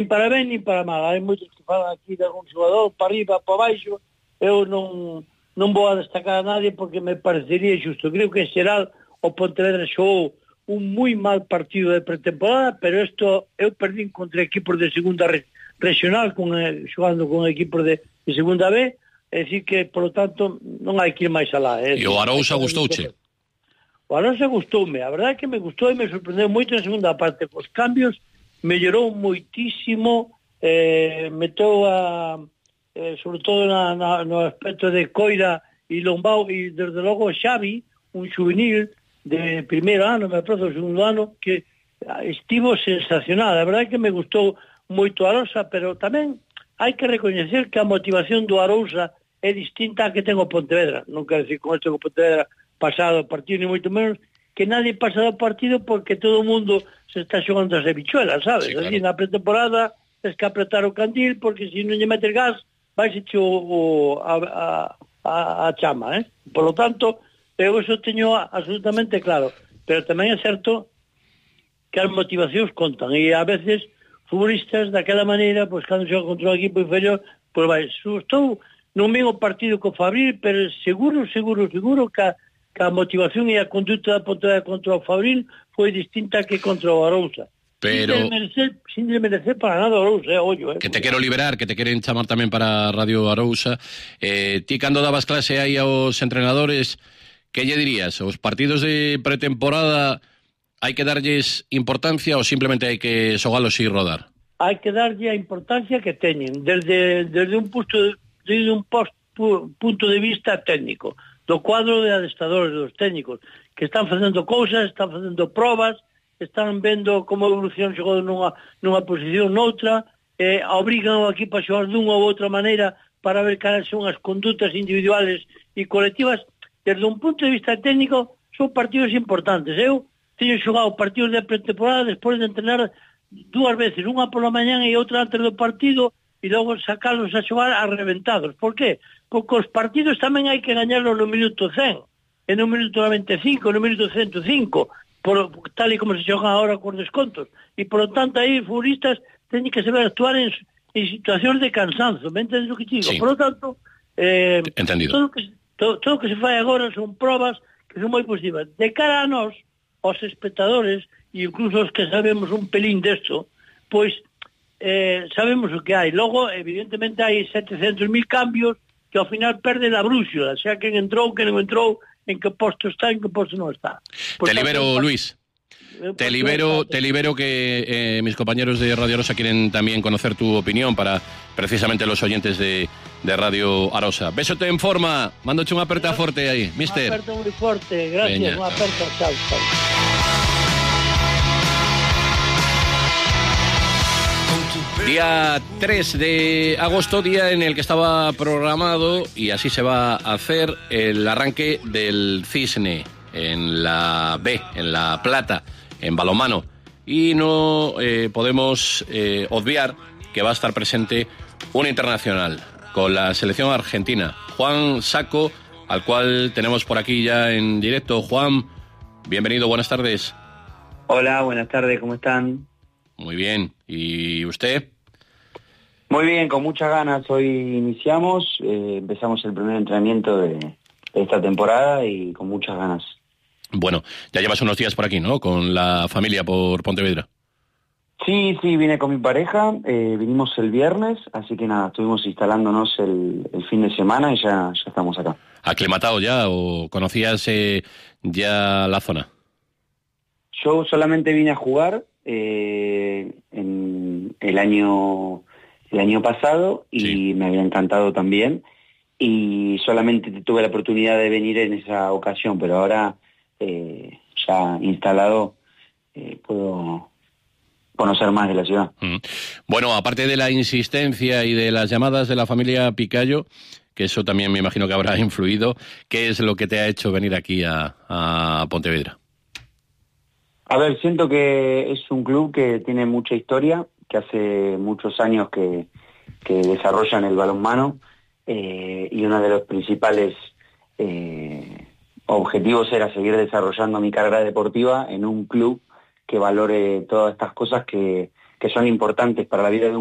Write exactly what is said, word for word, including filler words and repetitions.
Nin para ben, nin para mal. Hai moitos que falan aquí de algún xogador, para arriba, para baixo. Eu non, non vou a destacar a nadie porque me parecería xusto. Creo que en xeral o Pontevedra xogou un moi mal partido de pretemporada, pero isto eu perdín contra equipos de segunda re, regional, con, eh, xogando con equipos de, de segunda B, é dicir que, por lo tanto, non hai que ir máis alá. E o Arousa gustouche? O Arousa gustoume, a verdade é que me gustou e me sorprendeu moito na segunda parte, cos cambios mellorou moitísimo, eh, meteu a, eh, sobre todo na, na, no aspecto de Coira e Lombao, e desde logo Xavi, un juvenil de primeiro ano, me aproxo do segundo ano, que estivo sensacional. A verdade é que me gustou moito a Arousa, pero tamén hai que recoñecer que a motivación do Arousa é distinta a que ten o Pontevedra. Non quero decir con isto que o Pontevedra pasado o partido, ni moito menos, que nadie pasa do partido porque todo o mundo se está xogando as habichuelas, sabes? Sí, claro. Así, na pretemporada tens que apretar o candil porque se non lle metes gas vai se o, o, a, a, a chama, eh? Por lo tanto, eu eso teño absolutamente claro, pero tamén é certo que as motivacións contan e a veces futbolistas daquela maneira, pois cando xoga contra un equipo inferior, pois vai, estou non ven o partido co Fabril, pero seguro, seguro, seguro que a, que a motivación e a conduta da Pontevedra contra o Fabril foi distinta que contra o Arousa. Pero... Sin merecer, sin merecer para nada o Arousa, eh, ollo, eh. Que te quero liberar, que te queren chamar tamén para Radio Arousa. Eh, ti cando dabas clase aí aos entrenadores, que lle dirías? Os partidos de pretemporada hai que darlles importancia ou simplemente hai que xogalos e rodar? Hai que darlle a importancia que teñen, desde, desde un punto de, desde un post, punto de vista técnico, do cuadro de adestradores, dos técnicos, que están facendo cousas, están facendo probas, están vendo como evolución xogou nunha, nunha posición noutra, eh, obrigan ao equipo a xogar dunha ou outra maneira para ver cales son as condutas individuales e colectivas. Desde un punto de vista técnico, son partidos importantes. Eu teño xogado partidos de pretemporada despois de entrenar dúas veces, unha pola mañana e outra antes do partido, e logo sacarlos a xogar arrebentados. Por qué? Porque os partidos tamén hai que gañarlos no minuto cen, e no minuto noventa e cinco, no minuto ciento cinco, por, tal e como se xogan ahora con descontos. E, por lo tanto, aí futbolistas teñen que saber actuar en, en situacións de cansanzo. Me entendes o que digo? Sí. Por lo tanto, eh, entendido. Todo o que, todo, todo que se fai agora son probas que son moi positivas. De cara a nós, aos espectadores, e incluso os que sabemos un pelín desto, pois eh, sabemos o que hai. Logo, evidentemente, hai setecentos mil cambios que ao final perde a brúxula, xa quen entrou, quen non entrou, en que posto está, en que posto non está. Pues te libero, tanto, Luis. Te libero, te libero que eh, mis compañeros de Radio Arosa quieren también conocer tu opinión para precisamente los oyentes de, de Radio Arosa. Besote en forma, mándoche unha aperta forte aí, mister. Unha aperta moi forte, gracias, unha aperta, chao, chao. Día tres de agosto, día en el que estaba programado, y así se va a hacer, el arranque del Cisne en la B, en La Plata, en balonmano. Y no eh, podemos eh, obviar que va a estar presente un internacional con la selección argentina, Juan Saco, al cual tenemos por aquí ya en directo. Juan, bienvenido, buenas tardes. Hola, buenas tardes, ¿cómo están? Muy bien, ¿y usted? Muy bien, con muchas ganas. Hoy iniciamos, eh, empezamos el primer entrenamiento de, de esta temporada y con muchas ganas. Bueno, ya llevas unos días por aquí, ¿no? Con la familia por Pontevedra. Sí, sí, vine con mi pareja, eh, vinimos el viernes, así que nada, estuvimos instalándonos el, el fin de semana y ya, ya estamos acá. ¿Aclimatado ya o conocías eh, ya la zona? Yo solamente vine a jugar eh, en el año... el año pasado y sí, me había encantado también y solamente tuve la oportunidad de venir en esa ocasión, pero ahora eh, ya instalado eh, puedo conocer más de la ciudad. Mm. Bueno, aparte de la insistencia y de las llamadas de la familia Picayo, que eso también me imagino que habrá influido, ¿qué es lo que te ha hecho venir aquí a, a Pontevedra? A ver, siento que es un club que tiene mucha historia, que hace muchos años que, que desarrollan el balonmano eh, y uno de los principales eh, objetivos era seguir desarrollando mi carrera deportiva en un club que valore todas estas cosas que, que son importantes para la vida de un